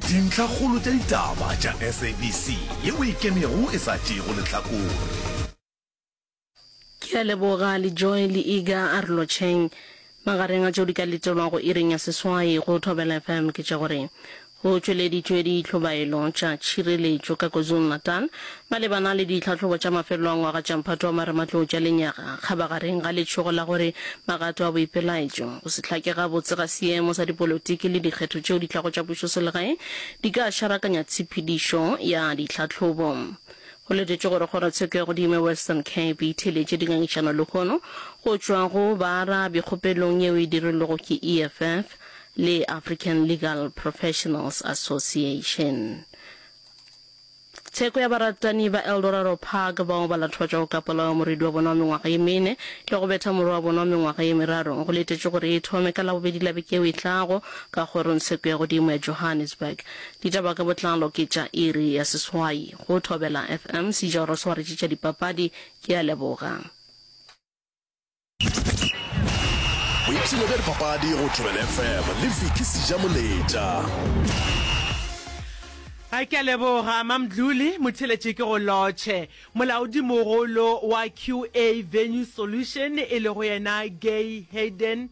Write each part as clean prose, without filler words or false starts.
Dintlhakgolo tša ditaba tša SABC yeo e ikemego e sa tšeego lehlakore. Ke a leboga le Joy le Iga a re lotšheng. Magareng a tšeo di ka letelwago iring ya seswai go Thobela FM ke tša gore go tšweleditšwe ditlhobaelo tša tšhireletšo ka KwaZulu-Natal malebana le ditlhahlobo tša mafelelo a ngwaga tša mphato wa marematlou tša lenyaga kgabagareng ga letšhogo la gore magato a boipelaetšo, go se hlake gabotse ga seemo sa dipolotiki le dikgetho tšeo di tlago tša pušoselegae di ka šarakanya tshepedišo ya ditlhahlobo. Go letetšwe gore kgorotsheko ya godimo ya Western Cape e theeletše dingangišano lehono go tšwa go baarabi kgopelong yeo e dirilwego ke EFF le African Legal Professionals Association. Tsheko ya baratani ba Eldorado Park bao ba latofatšwago ka polao ya morwedi wa bona wa mengwaga ye mene le go betha morwa wa bona wa mengwaga ye meraro go letetšwe gore e thome ka Labobedi la beke yeo e tlago ka kgorongtsheko ya godimo ya Johannesburg. Ditaba ka botlalo ke tša iri ya seswai go Thobela FM, Sejoro swaretše tša dipapadi. Ke a leboga. Boipshino bja dipapadi go Thobela FM le Vicky Sejamoletša. A ke a leboga Mamdluli, motheeletši ke go lotšhe. Molaodimogolo wa QA Venue Solution e lego yena Gay Hayden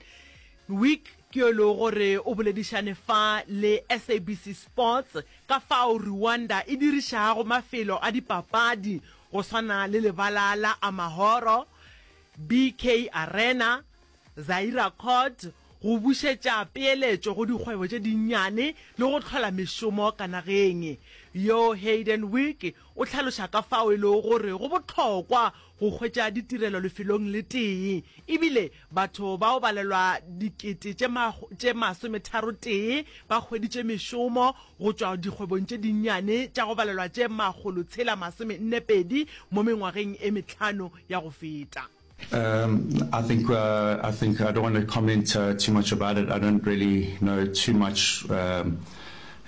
Wick ke yo e lego gore o boledišane fa le SABC Sports ka fao Rwanda e dirišago mafelo a dipapadi go swana le lebala la Amahoro, BK Arena, Zaira Court go bušetša peeletšo go dikgwebo tše dinnyane le go hlola mešomo ka nageng. Yo Hayden Wick o hlaloša ka fao e lego gore go bohlokwa go hwetša ditirelo lefelong le tee ebile Batho ba go balelwa dikete tše tše masometharotee ba hweditše mešomo go tšwa dikgwebong tše dinnyane tša go balelwa tše makgolotshela masomennepedi mo mengwageng e mehlano ya go feta. Um, I think, uh, I think I don't want to comment uh, too much about it. I don't really know too much um,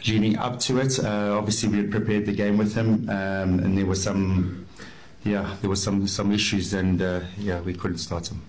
leading up to it. Uh, obviously, we had prepared the game with him, um, and there were some, yeah, there were some some issues, and uh, yeah, we couldn't start him.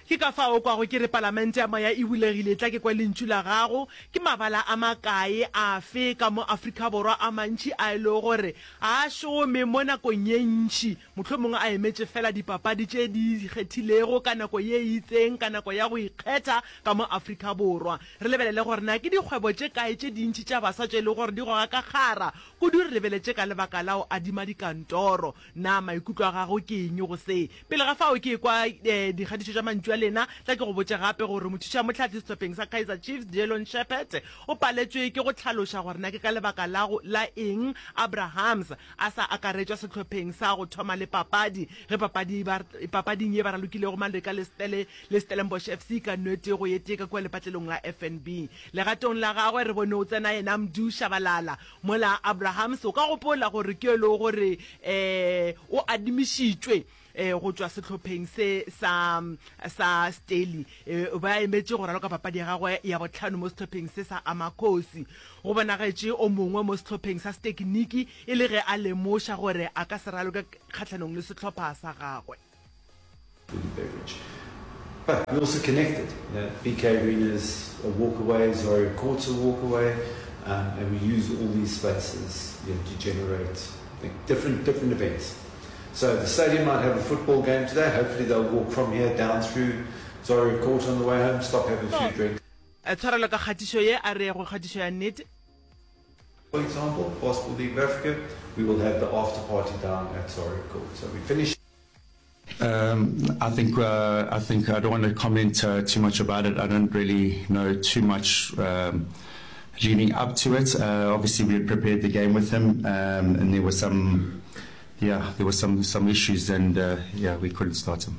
Ke ka fao o kwago ke re Palamente ya Moya e bulegile, tla ke kwe lentšu la gago. Ke mabala a makae afe ka mo Afrika Borwa a mantši a e lego gore ga a šome mo nakong ye ntši, mohlomongwe a emetše feela dipapadi tše di ikgethilego ka nako ye e itseng, ka nako ya go ikgetha ka mo Afrika Borwa. Re lebelele gore na ke dikgwebo tše kae tše dintši tša baswa tše e lego gore di goga ka kgara kudu re lebeletše ka lebaka la go adima dikantoro. Na maikutlo a gago ke eng go se? Pele ga fao ke ekwa dikgatišo tša mantšu a lena, tla ke go botše gape gore mothušamohlahli sehlopheng sa Kaizer Chiefs, Dillon Sheppard, o paletšwe ke go hlaloša gore na ke ka lebaka la go la eng Abrahams a sa akaretšwa sehlopheng sa go thoma le papadi ge papadi ba papading ye ba ralokilego Maleka le Stele le Stellenbosch FC ka nwete go ye tee ka kua lepatlelong la FNB. Legatong la gagwe re bone o tsena yena Mdu Shabalala Mola Abrahams o ka gopola gore ke yo e lego gore um o adimišitšwe um go tšwa sehlopheng se sa sa Stellie um ba emetše go raloka papadi ya gagwe ya bohlano mo sehlopheng se sa Amakhosi. Go bonagetše o mongwe mo sehlopheng sa setekiniki e le ge a lemoša gore a ka se raloke kgahlanong le sehlopha sa gagwe. Food and beverage. But we also connected. You know, BK Arena's a walk away, Zaria Court's a walk away, um, and we use all these spaces you know, to generate like, different different events. So the stadium might have a football game today. Hopefully they'll walk from here down through Zaria Court on the way home, stop, have a few drinks. Tshwarelo ka kgatišo ye, a re ye go kgatišo ya nnete. For example, Basketball League of Africa, we will have the after party down at Zaria Court. So we finish. Um, I think uh, I think I don't want to comment uh, too much about it. I don't really know too much um, leading up to it. Uh, obviously, we had prepared the game with him, um, and there were some, yeah, there were some some issues, and uh, yeah, we couldn't start him.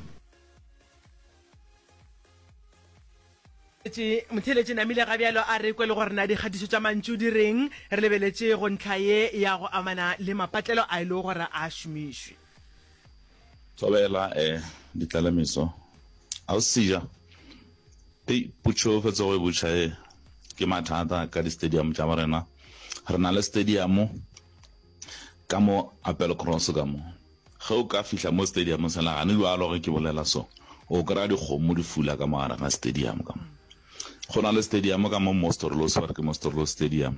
Motheeletši namile ga bjalo a re kwe le gore na dikgatišo tša mantšu di reng re lebeletše go ntlha ye ya go amana le mapatlelo a e lego gore a šomišwe. Thobela eh Ditlalemeso Ausi Seja Hei potšo o fetsa go e botša e ke mathata ka di stadium tša borena re na le stadium ka mo Appelcross ka mo ge o ka fihla mo stadium sela gane bjalo ge ke bolela so o kry-a dikgomo di fula ka mo gare ga stadium ka mo go na le stadium ka mo Mostorlos ba re ke Mostorlos stadium.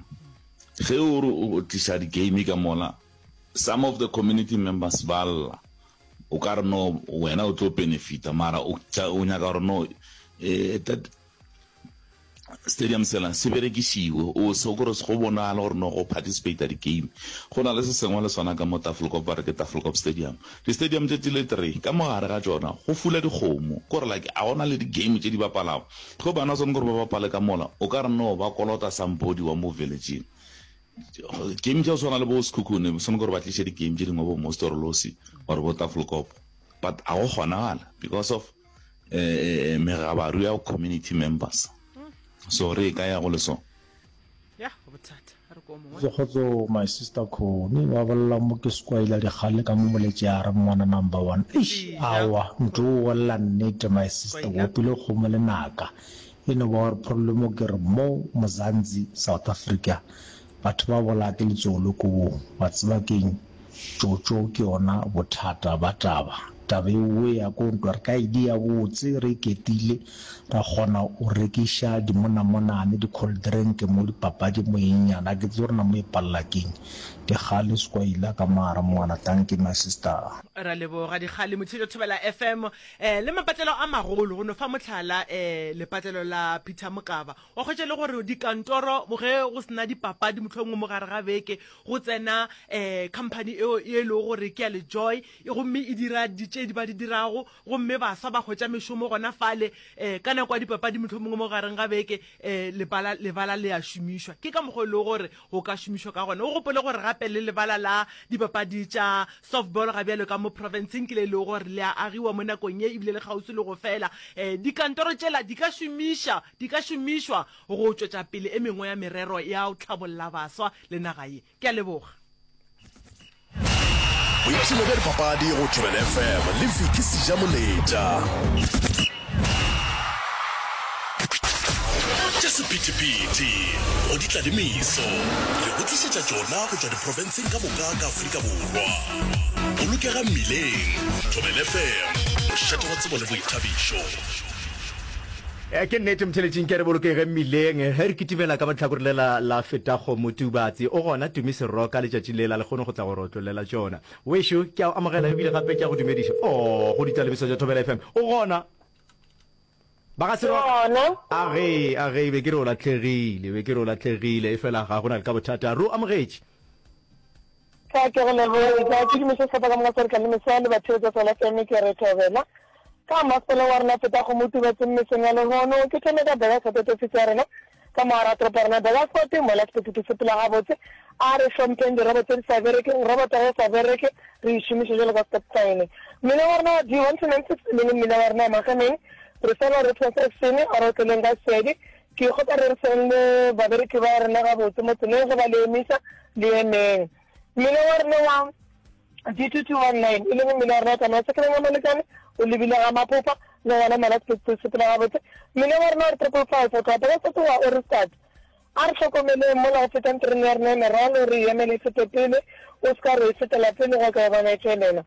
Ge o re o tliša di-game ka mola, some of the community members ba lla. O ka re no wena o tlo benefita mara o o nyaka gore no eh, that stadium sela se berekišiwe o se gore go bonagale gore no go participate di-game. Go na le se sengwe le sona ka mo Tafelkop ba re ke Tafelkop Stadium. Di-stadium tše di le three ka mo gare ga tšona go fula dikgomo kore like a gona le di-game tše di bapalago. Ge bana swanetše gore ba bapale ka mola o ka re no ba kolota somebody wa mo village-ing. Game tša go swana le bo Sekhukhune swanetše gore ba tliše di-game tše dingwe bo Mostorolosi or bo Tafelkop but a go kgonagala because of eh, megabaru ya community members. So re e ka ya go le so. Ya, bothata. A re ko mongwe. Kgotso my sister Connie ba bolela mo ke skwaila dikgale ka mo moletše a re ngwana number one eish aowa ntho o bolela nnete my sister o opile kgomo lenaka e no ba gore problem ke re mo Mzansi South Africa batho ba bolaya ke letsogo-le-kobong wa tseba keng Tšotšo ke yona bothata ba taba. Taba ewe ya ko ntwa re ka e dia botse re iketile ra kgona o rekiša dimonamonane, di cold drink mo dipapadi mo eng nyana a ke tsebe gore na mo e palela keng. Dikgale Skwaila ka mara mongwana tanki my sister. Ra leboga Dikgale Motšhetšo Thobela FM eh le mapatlelo a magolo go no fa mohlala eh lepatlelo la Peter Mokaba wa hwetša le gore dikantoro ge go sena dipapadi mohlomongwe mo gare ga beke Go tsena um company eo e lego gore ke ya Lejoy gomme e dira di tše di ba di dirago, gomme baswa ba hwetša mešomo gona fale. Um ka nako ya dipapadi mohlomongwe mo gareng ga beke um lebala, lebala le a šomišwa. Ke ka mokgwa e lego gore go ka šomišwa ka gona. O gopole gore gape le lebala la dipapadi tša softball ga bjalo ka mo profenseng ke le e lego gore le a agiwa mo nakong ye ebile le kgauswi le go fela. Um dikantoro tšela di ka šomiša, di ka šomišwa go tšwetša pele e mengwe ya merero ya go tlhabolla baswa le naga ye. Ke a leboga. Boipshino bja dipapadi go Thobela FM le Vicky Sejamoletša. Tša sephethephethe go di tla le meso re go tlišetša tšona go tšwa diprofenseng ka moka ka Afrika Borwa. Bolokega mmileng. Thobela FM, mošate wa tsebo le boithabišo. Eh, ke nnete motheletšing ke re bolokege mmileng ge re kitimela ka matlhakore lela la feta kgomo tubatse o gona tumi seroka letšatši lela le kgone go tla go re otlolela tšona wešo ke a o amogela ebile gape ke a go dumediša o oh, go ditalebiso tša thobela fm o gona ba ga seroka a ge a ge be ke re o latlhegile be ke re o latlhegile e fela ga go na le ka bothata re o amogetše Ka ke go leboge ka ke dumiša sehlopha ka moka sa Re Tla le Mesoa le batheetša Thobela FM ke re Thobela ka masepala wa rena feta go mo tubatseng mesong ya lehono ke thome ka Burgersfort ofisi ya rena ka mo gara toropo ya rena Burgersfort mola sephethephethe sepela gabotse a re hlompheng dirobo tse di sa berekeng roboto ge e sa bereke re e šomiše jalo ka stop sign mmila wa rena wa D1296 e leng mmila wa rena wa Magemeng re sala re cross action a re otleleng ka sedi Ke kgopela re seng le babereki ba rena gabotse mo tseleng ge ba le emisa, le emeng. Mmila wa rena wa G2219, e leng mmila wa rena wa tsamaya sekeleng wa Malekane, o lebile ga Maphopa, le gona mola sephetho se sepela gabotse. Mmila wa rena wa 555 o tloga Pekasete wa Ohrigstad. A re hlokomeleng mola go fetang terene ya rena ya merwalo, re e emele e fete pele, o se ka re e fetela pele gwa ka wa bona e tšwelela.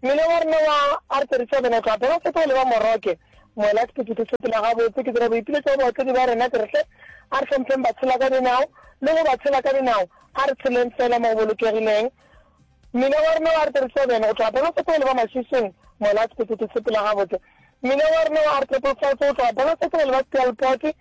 Mmila wa rena wa R37 o tloga Pekasete o leba Moroke. Mola sephethephethe se sepela gabotse, ke dira boipiletšo go baotledi ba rena ke re hle a re hlompheng batshela ka dinao le go ba tshela ka dinao, a re tsheleng fela mo go bolokegileng. Mmila wa rena wa R37 go tloga Pekasete go leba Mashishing, mola sephethephethe se sepela gabotse. Mmila wa rena wa R555 go tloga Pekasete go leba Steelpoort,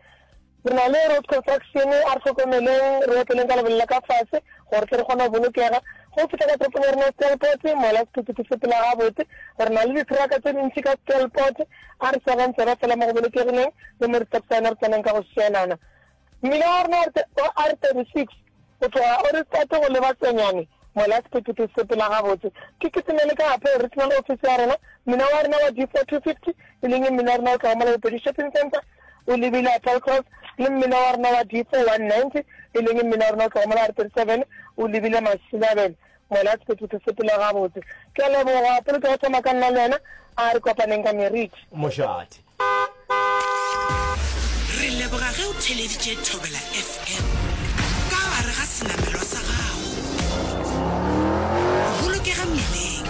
Re na le road construction, a re hlokomeleng, re otleleng ka lebelo la ka fase gore tle re kgone go bolokega. Ge o fihla ka toropong ya rena ya Steelpoort, mola sephethephethe se sepela gabotse, re na le ditheraka tše dintši ka Steelpoort, a re swareng tsebe fela mo go bolokegileng le mo di-stop sign re tseneng ka go šielana. Mmila wa rena wa R36 go tloga Ohrigstad go leba Tsenyane, mola sephethephethe se sepela gabotse. Ke kitimele ka Appeal Regional Office ya rena, mmila wa rena wa D4 250, e leng mmila wa rena o tloga mola Bopedi Shopping Centre, o lebile Applecross, le mmila wa rena wa D4 190, e leng mmila wa rena o tloga mola R37 o lebile Masilabele, mola sephethephethe se sepela gabotse. Ke a leboga. Pele ke go thoma ka nna le wena, a re kopaneng ka meriti. Mošate. Re leboga ge o theleditše Thobela FM ka gare ga senamelwa sa gago. Bolokega mmileng.